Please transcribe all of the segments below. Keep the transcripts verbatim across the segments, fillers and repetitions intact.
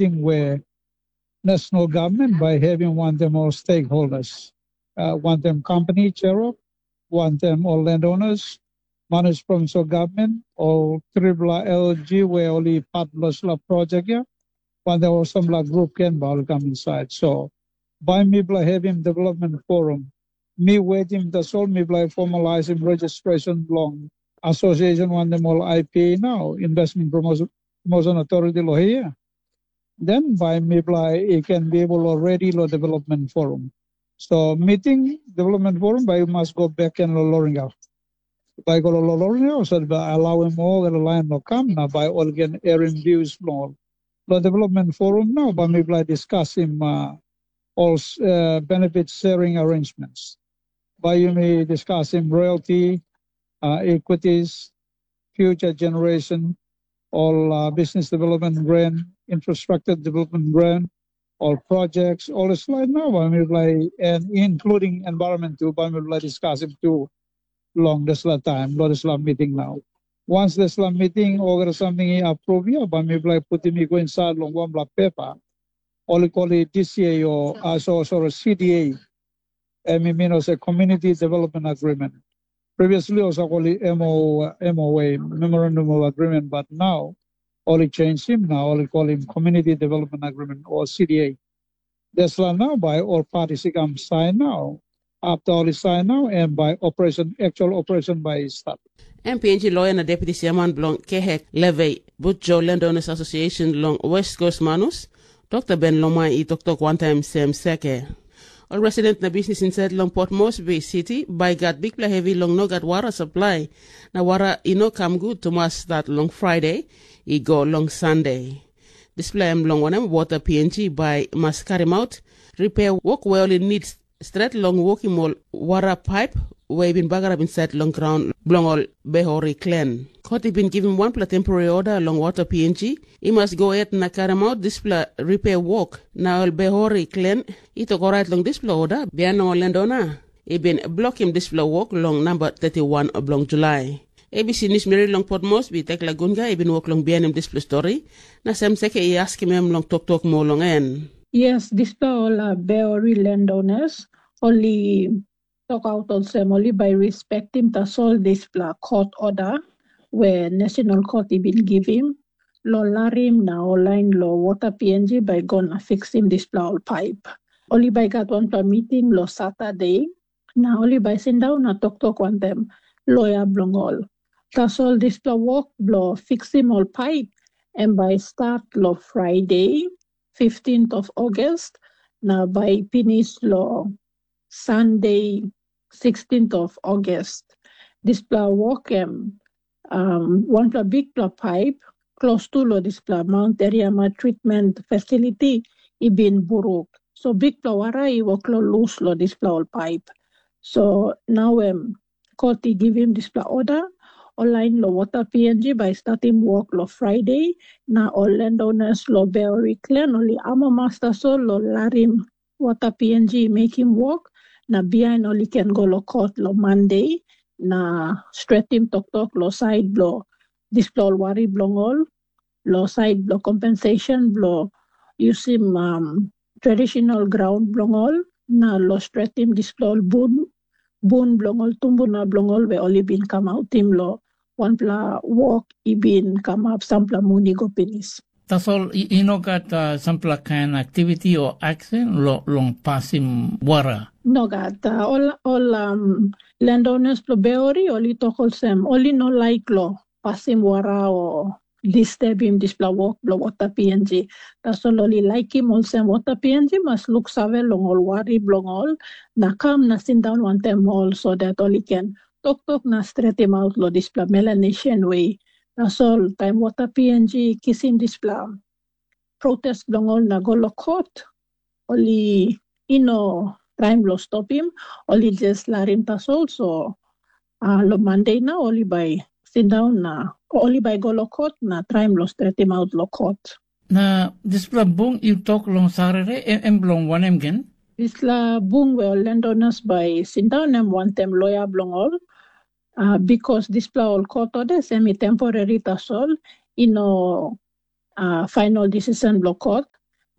ting we national government bai having wantaim ol stakeholders, uh, wantaim company cherok, wantaim ol landowners, manage provincial government, ol tripela L G we ol i part long dispela project ya, wantaim ol sampela grup ken bai ol i kam inside. So bai mipela having development forum. Mi waiting tasol mipela formalizing registration long association wantaim ol I P A now, Investment Promotion, Promotion Authority lo here. Then by mipela it can be able already lo development forum. So meeting development forum by you must go back and lo Loringau. By go lo Loringau, so by allow him all the line lo come now by all can airing views long all. Lo development forum now, by mipela discuss him uh, all uh, benefit sharing arrangements. By you may discuss him royalty, uh, equities, future generation, all uh, business development grant, infrastructure development grant, all projects, all is like now, by mipela, and including environment too, by mipela discuss him too long dispela taim, long dispela meeting now. Once dispela meeting olgeta samting i approve ya, bai mipela putim i go inside long wanpela pepa. Ol i kol i D C A o uh, so, sorry, C D A. Em i mean olsem Community Development Agreement. Previously olsem kol i M O, M O A, Memorandum of Agreement, but now ol i changim na ol i kolim Community Development Agreement o C D A. Dispela nau bai ol parties i kam sain nau. Afta ol i sain nau, em bai operation, actual operation bai i start. M P N G loya na deputi siaman bilong Kehek Levei, Butjo Landowners Association long West Coast Manus, Dr. Ben Lomai i toktok wantaim sem seke. Ol resident na bisnis insait long Port Moresby City bai gat bikpela hevi long no gat wara saplai, na wara i no kam gut tumas stat long Friday i go long Sunday. Dispela em long wanem wota P N G bai mas karimaut ripea wok we ol i nid stret long wokim ol wara paip we i bin bagarap insait long graun bilong ol Behori klen. Kot i bin givim wanpela temporary oda long wota P N G i mas go het na karimaut dispela ripea wok, na ol Behori klen i tok orait long dispela oda, bihain long ol landona i bin blokim dispela wok long namba thirty-one bilong Julai. A B C News Meri long Port Moresby, Tekla Gunga i bin wok long bihainim dispela stori, na Sam Seke i askim em long toktok moa long en. Yes, dispela ol uh, Beori landowners, ol i tokaut olsem, ol i bai respektim tasol dispela court order we National Court i bin givim, lo larim na ol lain lo water P N G bai go na fiksim dispela ol paip. Ol i bai gat wanpela miting lo Saturday, na ol i bai sindaun na toktok wantaim loya bilong ol. Tasol dispela wok bilong fiksim ol paip, em bai i stat long Friday, fifteenth of August, na bai i pinis long Sunday, sixteenth of August. Dispela wok em um, wanpela bikpela paip klostu long dispela Mount Eriama Treatment Facility i bin buruk. So bikpela wara i wok long lus long dispela ol paip. So nau em kot i givim dispela oda, ol lain long water P N G bai i statim wok long Friday, na ol landowners long Beori Klen ol i amamas tasol long larim water P N G i mekim wok, na bihain ol i ken go long kot long Monday, na stretim toktok long sait bilong dispela ol wari bilong ol, long sait bilong compensation bilong yusim um, traditional ground bilong ol, na long stretim dispela ol bun, bun bilong ol tumbuna bilong ol we ol i bin kamautim long wanpela wok i bin kamap sampela mun i go pinis. Tasol i, i no gat uh, sampela kain aktiviti o aksen lo, long pasim wara. No gat. Uh, ol ol um, landowners bilong Beori ol i tok olsem, ol i no laik lo pasim wara o disturbim dispela wok bilong water P N G. Tasol ol i laikim olsem water P N G mas luksave long ol wari bilong ol, na kam na sindaun wantaim ol so dat ol i ken toktok na stretim aut long dispela Melanesian we. Tasol taim water P N G kisim dispela protest bilong ol na go long kot, ol i i no traim long stopim, ol i just larim tasol. So uh, long Monday na ol i bai sindaun na ol i bai go long kot na traim long stretim aut long kot. Na dispela bung yu tok long Saturday, em, em bilong wanem gen? Dispela bung we ol landowners bai sindaun em wantaim loya bilong ol, uh, because dispela ol kot odes em i temporary tasol, i no uh, final decision bilong kot.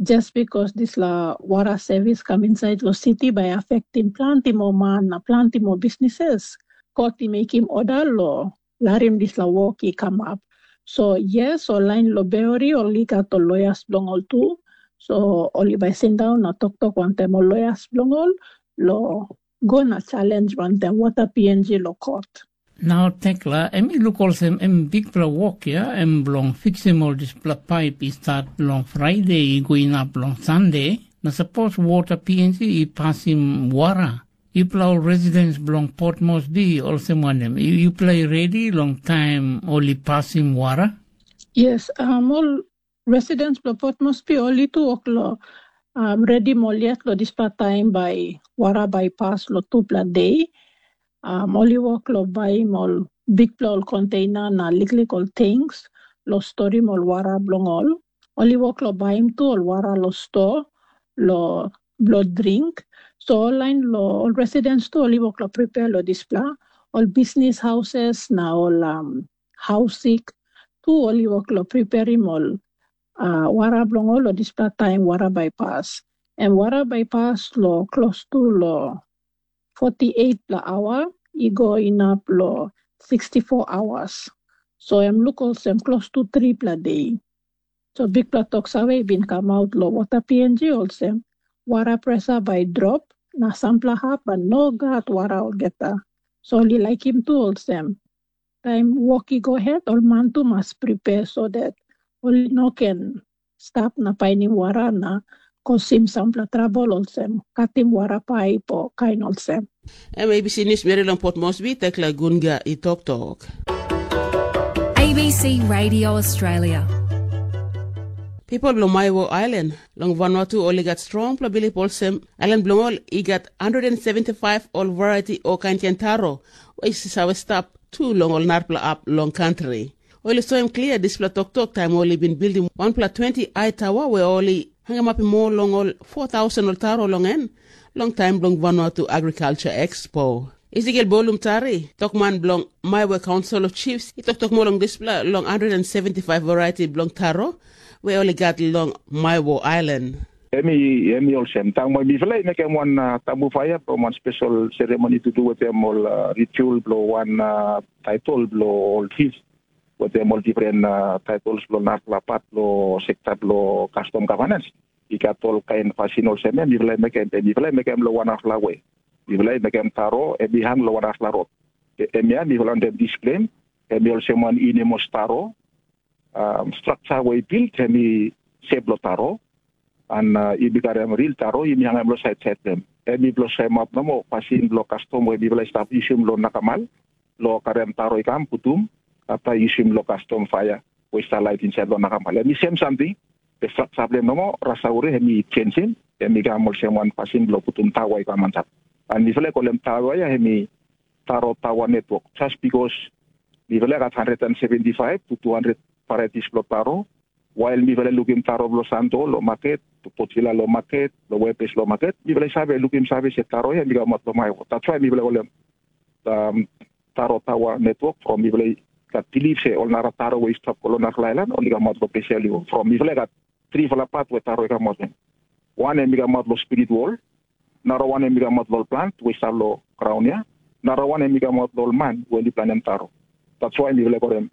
Just because dispela wara sevis kam insait long siti bai afektim planti moa man na planti moa bisnises, kot i mekim oda long larim dispela wok i kamap. So yes, ol lain long Beori ol i gat ol loyas bilong ol tu. So ol i bai sindaun na toktok wantaim ol loyas bilong ol long go na challenge wantaim wata P N G long kot. Na ol tekla em i luk olsem em bikpela wok ya em bilong fiksim ol dispela paip i start long Friday i go inap long Sunday, na sapos wota P N G i pasim wara, yupela ol residents bilong Port Moresby olsem wanem? Yu- Yupela i redi long taim ol i pasim wara? Yes, um, ol residents bilong Port Moresby ol i tu wok long um, redim ol yet long dispela taim bai wara bai i pas long tupela de. Um, ol i wok long baim ol bikpela ol konteina na liklik ol tanks long storim ol wara bilong ol. Ol i wok long baim tu ol wara long sto long bilong dring. So ol lain long ol residents tu ol i wok long prepare long dispela. Ol bisnis houses na ol um, hausik tu ol i wok long preparim ol uh, wara bilong ol long dispela taim wara bai pas. Em wara bai pas long klostu long forty-eight pela aua i go inap long sixty-four hours. So em luk olsem klostu tripela de. So bikpela tok save i bin kamap long wota P N G olsem, wara presa bai i drop, na sampela hap bai no gat wara olgeta. So ol i laikim tu olsem, taim wok i go het, ol man tu mas prepare so that ol i no ken stap na painim wara na kosim sampela trabel olsem katim wara paip o kain olsem. Em A B C News meri long Port Moresby, Tekla Gunga i toktok. A B C Radio Australia. Pipel bilong Maiwo Ailan long Vanuatu ol i gat strongpela bilip olsem, ailan bilong ol i gat hundred and seventy-five ol variety o kain kain taro, o i save stap tu long ol narapela hap long kantri. Ol i soim klia dispela toktok taim ol i bin bildim wanpela twenty ai tawa we ol i hangamapim ol long ol four thousand ol taro long en, long taim bilong Vanuatu Agriculture Expo. Ezekiel Bolum Tari, tokman bilong Maiwe Council of Chiefs, i toktok moa long dispela long hundred and seventy-five variety bilong taro we ol i gat long Maiwo Island. Em i, em i olsem, taim bai mipela i mekim wan uh, tambu paia bilong wan spesal seremoni to do wetem ol uh, ritual bilong wan uh, title bilong ol chief, wetem ol different uh, titles bilong narapela pat bilong sekta bilong custom governance. I gat ol kain pasin olsem em mipela i mekim, em mipela i mekim long wanarapela we. Mipela i mekim taro, em i hang long wanarapela rot. Em ya mipela wantaim displem, em i olsem wan inemos taro, um, straksa we i bilt em i sep long taro, an uh, i bikarim ril taro i mi hangim long sait sait em. Em i bilong soim ap nomo pasin bilong kastom we mipela i stap yusim long nakamal, long karim taro i kam putum, apta yusim long kastom paia we i stap lait insait long nakamal. Em i sem samting, be straksa bilong em nomo, rasauri em i chensim, em i kam olsem wan pasin bilong putum tawa i kam antap. An mipela i kolem tawa ya em i taro tawa netwok, just bikos mipela i gat hundred and seventy five to two hundred varieties bilong taro, wail mipela i lukim taro bilong Santo long maket, Potvila long maket, long Webes long maket, mipela i save lukim save se taro ya mi kamap long Maiwo. That's why mipela i olem um, taro tawa netwok from mipela i gat bilip se ol nara taro we i stap long narapela ailan ol i kamap long Pesia Liwo. From mipela i gat tripela pat we taro i kamap. Wan em i kamap long spirit wol, nara wan em i kamap long plant we i stap long graun ya, nara wan em i kamap long man we ol i planim taro. That's why mipela i kolem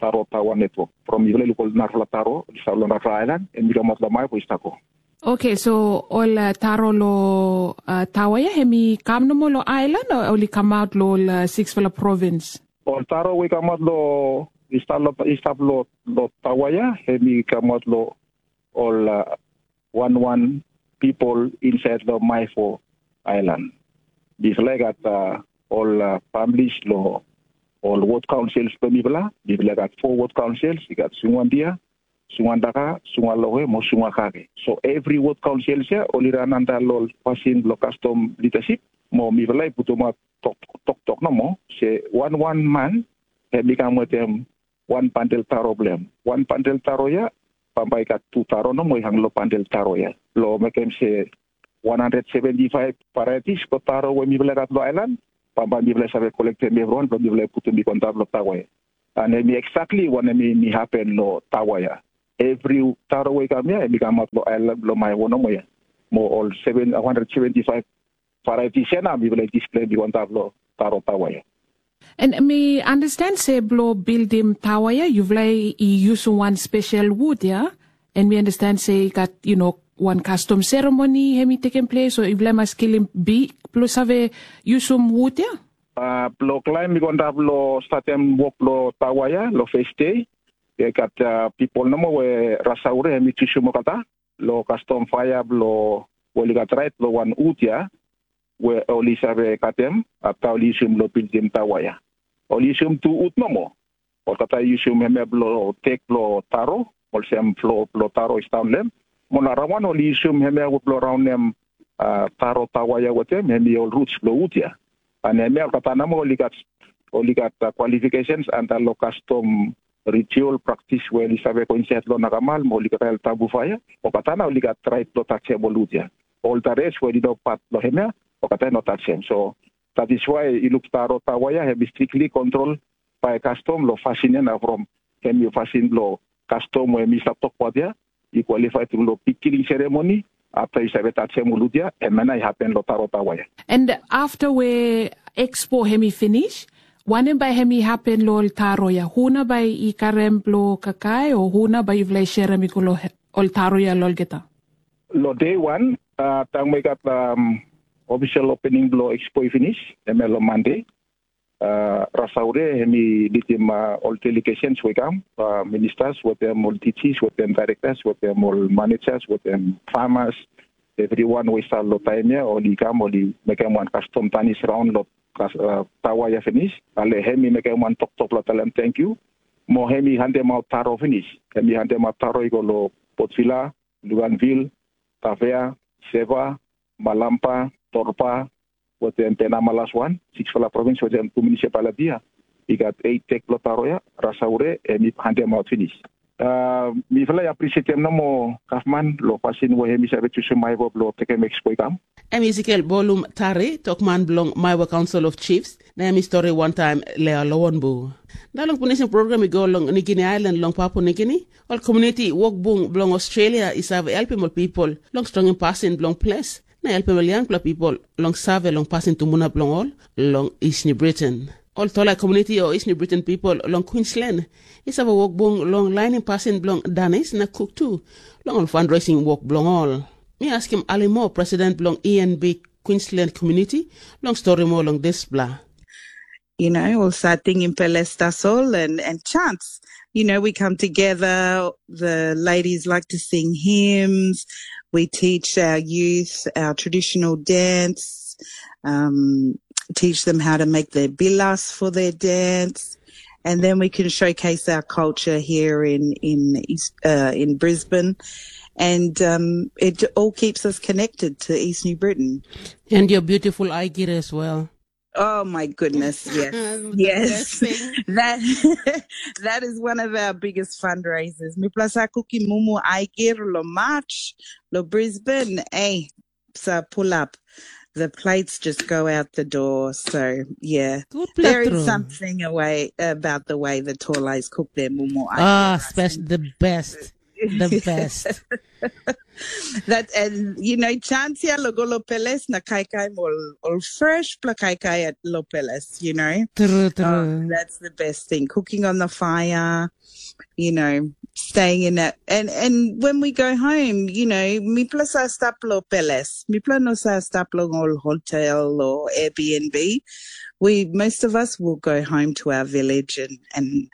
taro tawa netwok. From mipela i luk ol narapela taro i stap long narapela ailan, em i kamap long mai we i stap go. Okay, so ol uh, taro lo uh, tawa ya em i kam nomo lo island o ol i kamaut lo ol uh, sixpela province? Ol taro we i kamaut lo i stap lo i stap lo lo tawa ya, em i kamaut lo ol uh, wan wan people inside lo Maifo Island. Mipela i gat uh, ol uh, families lo ol ward councils bilong mipela. Mipela i gat four ward councils, i gat Sungwandia, Sungwandaka, Sungwalohe, mo Sungwakake. So every ward councils ya ol i ran under lo pasin bilong custom leadership. Mo mipela i putumat tok tok tok nomo se wan wan man em i kam wetem wan bandel taro bilong em. Wan bandel taro ya, bambae i gat tu taro nomo i hang long bandel taro ya. Long mekim se one hundred seventy five varieties bilong taro we mipela i gat long ailan, bambae mipela i save kolektim evriwan bilong mipela i putim i go antap long tawa ya. An em i eksakli wanem i mi hapen long tawa ya. Evri taro we i kam ya, em i kamap long ailan bilong Maiwo nomo ya. Mo ol seven, one hundred seventy-five variety sena mipela i display i go antap long taro tawa ya. En mi understand se bilong bildim tawa ya, yupela i yusum wan spesial wut ya. En mi understand se i gat, you know, wan custom ceremony hem i tekem ples, o yupela i mas kilim bik bilong save yusum wut ya? Uh, bilong klaim i go antap long statem wok long tawa ya, long first day. I gat uh, people nomo we rasaure hem i chusum olgeta long kastom faia bilong ol i gat rait long wan wut ya, we ol i save katem, afta ol i yusum long bildim tawa ya. Ol i yusum tu wut nomo. Olgeta i yusum hemia bilong tek bilong taro, olsem flo bilong taro i stap long em. Mo na rawan ol i yusum hemia bilong raunim uh, taro tawa ya wetem, hem i ol ruts bilong wut ya. An hemia olgeta nomo ol i gat ol i gat uh, qualifications anda long kastom ritual praktis we ol i save go insait long nakamal mo ol i gat tabu faia, olgeta na ol i gat rait long taksem ol wut ya. Ol da res we ol i no pat long hemia, olgeta i no taksem. So that is why i luk taro tawa ya, hem i strictly control by kastom long fasin ya na from hem i fasin bilong kastom we mi stap tokbat ya, i kwalifai tru long bikkiling seremoni, afta i save taksem ol wut ya, em na i hapen long taro tawa ya. And after we expo hem i finish, wanem bai hem i hapen long ol taro ya? Huna bai i karem bilong kakai, o huna bai yupela i sherem i go long ol taro ya long olgeta? Long day one, uh, tang we gat um, official opening bilong expo i finish, em long Monday. Uh, Rasaure, hem i lidim uh, ol delegations we kam, uh, ministers, wetem ol D Gs, wetem directors, wetem ol managers, wetem farmers, everyone we start lo time ya, ol i kam, ol i mekem wan custom tanis round lo uh, tawa ya finish. Ale hem i mekem wan toktok lo talem thank you. Mo hem i handem out taro finish. Hem i handem out taro i go lo Port Vila, Luganville, Tavea, Seva, Malampa, Torpa, wetem Penama las wan, sikspela provins wetem tu munisipaliti ya. I gat eit tek bilong taro ya, Rasaure, em i handem out pinis. Uh, mipela i appreciatem nomo gavman long pasin we em i save chusim Maiwo bilong tekem expo i kam. Em Ezekiel Bolum Tari, tokman bilong Maiwa Council of Chiefs, na em i stori wantaim Lea Lowanbu. Na long pinisim program i go long Nigini Island long Papua Nigini, ol komuniti wokbung bilong Australia i save helpim ol pipel long strongim pasin bilong ples na helpim ol yangpela pipel long save long pasin tumbuna bilong ol long East New Britain. Ol Tolai komuniti o East New Britain pipel long Queensland i save wokbung long lainim pasin bilong danis na kuk tu long ol fundraising wok bilong ol. Mi askim Alimo, president bilong E N B Queensland Community, long stori moa long dispela. You know, we'll start singing Pelestasol and, and chants. You know, we come together, the ladies like to sing hymns, we teach our youth our traditional dance, um, teach them how to make their bilas for their dance, and then we can showcase our culture here in in East, uh, in Brisbane, and um, it all keeps us connected to East New Britain. And your beautiful Aigir as well. Oh my goodness, yes. Yes. That that is one of our biggest fundraisers. Mi plus a cookie mumu Aigir lo March, lo Brisbane. Hey, so pull up. The plates just go out the door. So yeah, there is something away about the way the Tolais cook their mumu. Ah, special, the best, the best. That, and you know, chance ya lo go lo peles na kaikai mol ol fresh pla kaikai at lo peles, you know. True, true. Oh, that's the best thing. Cooking on the fire, you know, staying in that. And and when we go home, you know, mipla sa stap lo peles. Mipla no sa stap lo ol hotel or Airbnb. We, most of us will go home to our village and, and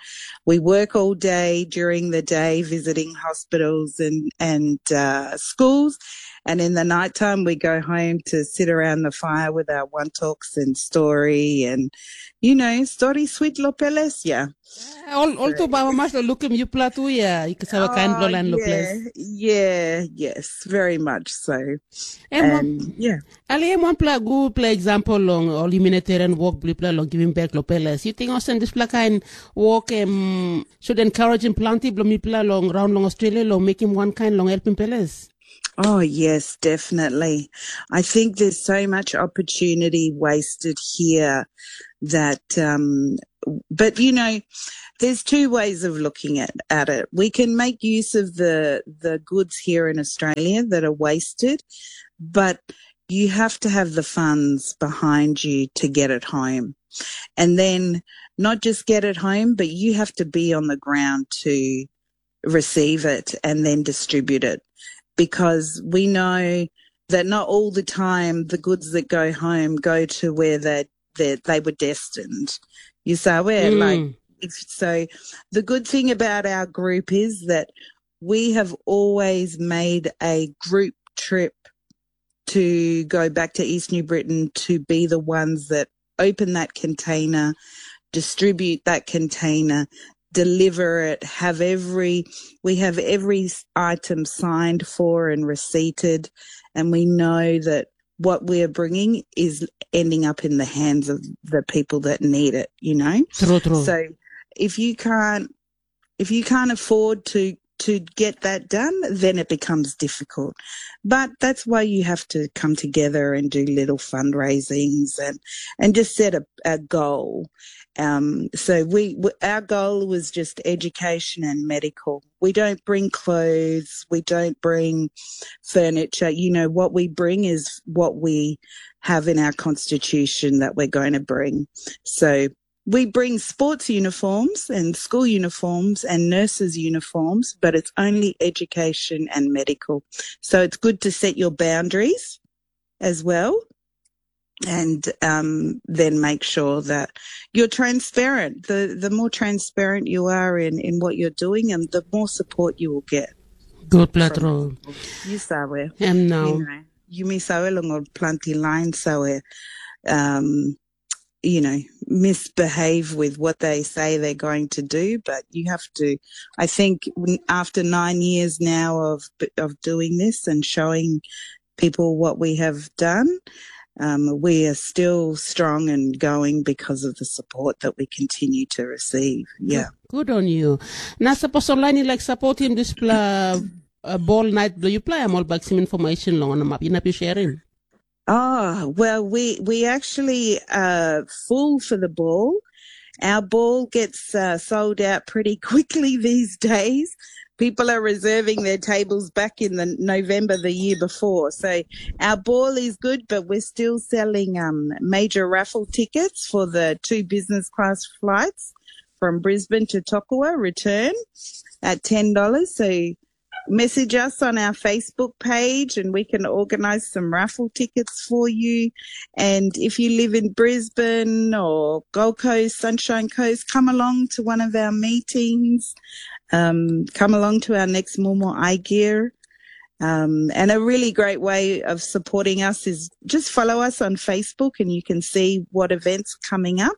we work all day during the day visiting hospitals and, and uh, schools. And in the nighttime, we go home to sit around the fire with our one talks and story and, you know, story sweet lo peles, yeah. Ol ol tu baba mas lo lukim yupela tu ya, i save kain blo lain lo ples. Yeah, yes, very much so. Em wan- And yeah. Ali em wanpela gutpela example long ol humanitarian work bilipela long giving back lo peles. You think olsem dispela kain work em should encouraging planti bilong mipela long raun long Australia long mekim wankain long helpim peles? Oh, yes, definitely. I think there's so much opportunity wasted here that, um, but you know, there's two ways of looking at, at it. We can make use of the, the goods here in Australia that are wasted, but you have to have the funds behind you to get it home. And then not just get it home, but you have to be on the ground to receive it and then distribute it, because we know that not all the time the goods that go home go to where they, they, they were destined. You say, where, like, mm. If, so the good thing about our group is that we have always made a group trip to go back to East New Britain to be the ones that open that container, distribute that container, deliver it, have every, we have every s- item signed for and receipted, and we know that what we're bringing is ending up in the hands of the people that need it, you know? True, true. So if you can't, if you can't afford to, to get that done, then it becomes difficult. But that's why you have to come together and do little fundraisings and, and just set a, a goal. Um, so we, we, our goal was just education and medical. We don't bring clothes. We don't bring furniture. You know, what we bring is what we have in our constitution that we're going to bring. So we bring sports uniforms and school uniforms and nurses uniforms, but it's only education and medical. So it's good to set your boundaries as well, and um, then make sure that you're transparent. The the more transparent you are in, in what you're doing, and the more support you will get. Good, Platro. You sabe. Em now. You know, you miss out long or plenty line, so um, you know, misbehave with what they say they're going to do, but you have to, I think, after nine years now of of doing this and showing people what we have done, um, we are still strong and going because of the support that we continue to receive. Yeah. Good on you. Na sapos online you like supporting this pla uh, ball night do you play? I'm all back some information long on the map. You know, you sharing. Oh, well, we, we actually uh, full for the ball. Our ball gets uh, sold out pretty quickly these days. People are reserving their tables back in the November the year before. So our ball is good, but we're still selling um, major raffle tickets for the two business class flights from Brisbane to Tokua return at ten dollars. So message us on our Facebook page and we can organise some raffle tickets for you. And if you live in Brisbane or Gold Coast, Sunshine Coast, come along to one of our meetings. Um, come along to our next Momo Eye Gear. Um, and a really great way of supporting us is just follow us on Facebook and you can see what events coming up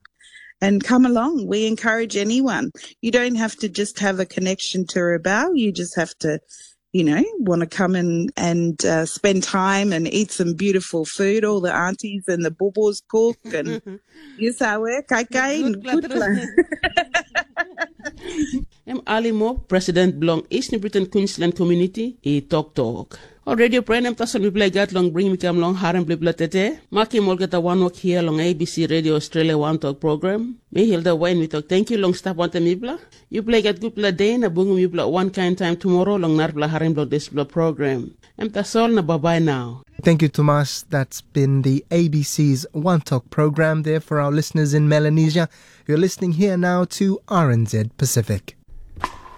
and come along. We encourage anyone. You don't have to just have a connection to Rabaul. You just have to, you know, want to come and, and uh, spend time and eat some beautiful food. All the aunties and the bubbles cook and you sabe, kaikai and good plan. Em Alimo, President bilong East New Britain Queensland Community, i toktok. O radio pren em tasol mipela i gat long bring mi kam long harim bilipela tete. Makim olgeta wanwok hia long A B C Radio Australia Wantok program. Mi Hilda Wain mi tok tenkyu long stap wantaim mipela. Yupela i gat gutpela de na bungim yupela wankain taim tumora long narapela harim bilong dispela program. Em tasol na babai nau. Thank you, Tomas. That's been the A B C's One Talk program there for our listeners in Melanesia. You're listening here now to R N Z Pacific.